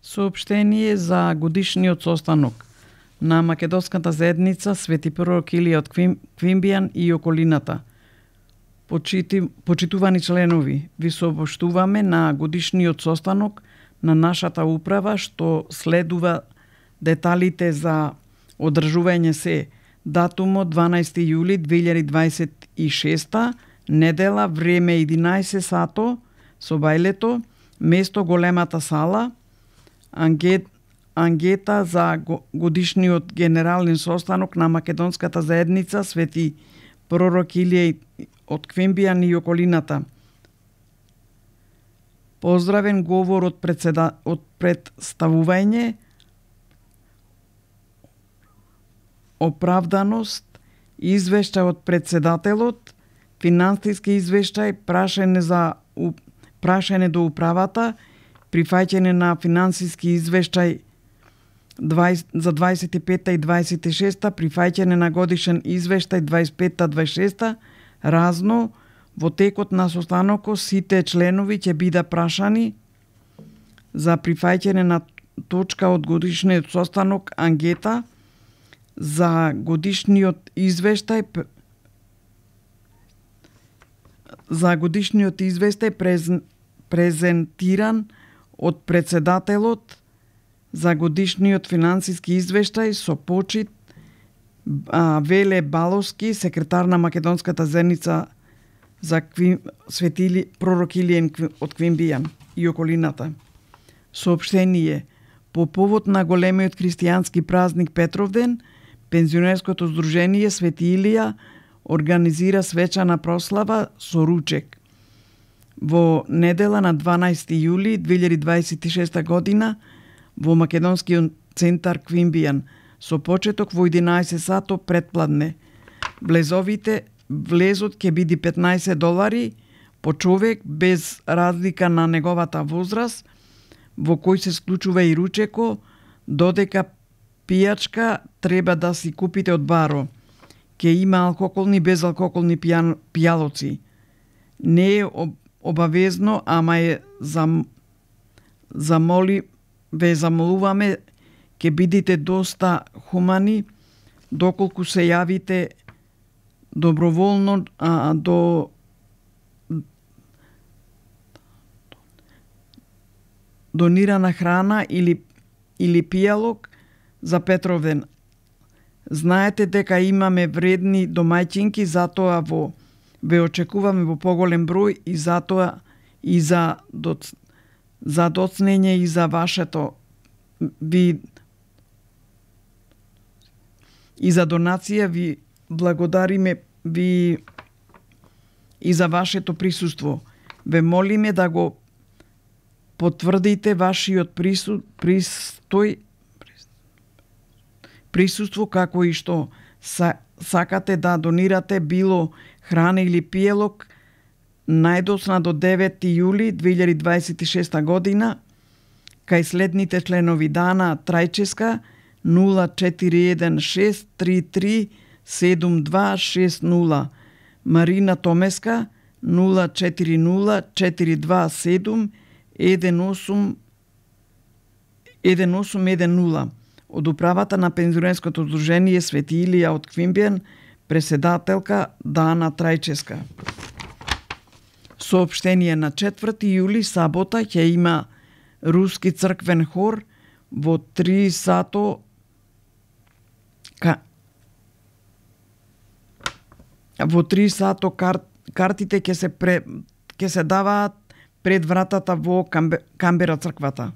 Соопштение за годишниот состанок на Македонската заедница Свети пророк Илија од Квимбијан и околината. Почитувани членови, ви сообштуваме на годишниот состанок на нашата управа што следува деталите за одржување се датумот 12 јули 2026, недела, време 11 сато, собајлето, место големата сала, ангета за годишниот генерален состанок на Македонската заедница Свети пророк Илија од Квимбијан и околината. Поздравен говор од представување, оправданост, извештај од председателот, финансиски извештај, прашање до управата, прифаќање на финансиски извештај за 25-та и 26-та, прифаќање на годишен извештај 25-та, 26-та, разно, во текот на состанокот сите членови ќе бидат прашани за прифаќање на точка од годишниот состанок ангета за годишниот извештај презентиран од председателот за годишниот финансиски извештај со почит Веле Баловски, секретар на Македонската заедница за Свети пророк Илија од Квимбијан и околината. Соопштение: по повод на големиот христијански празник Петровден, пензионерското здружение Свети Илија организира свечана прослава со ручек. Во недела на 12 јули 2026 година во Македонскиот центар Квимбијан со почеток во 11 сато предпладне. Влезот ќе биде $15 по човек без разлика на неговата возраст, во кој се склучува и ручеко, додека пијачка треба да си купите од баро. Ке има алкохолни и безалкохолни пијалоци. Не е обавезно, ама е замолуваме, ке бидите доста хумани доколку се јавите доброволно до донирана храна или пијалок за Петровден. Знаете дека имаме вредни домаќинки, затоа ве очекуваме во поголем број и затоа и за доцнење и за вашето и за донација ви благодариме и за вашето присуство. Ве молиме да го потврдите вашиот присуство како и што сакате да донирате било храна или пијалок најдоцна до 9 јули 2026 година кај следните членови: Дана Трајческа 0416337260, Марина Томеска 0404271810 од управата на пензионерското здружение Свети Илија од Квимбијан, председателка Дана Трајческа. Соопштение: на 4 јули сабота ќе има руски црквен хор во 3 сато картите ќе се даваат пред вратата во Камбера црквата.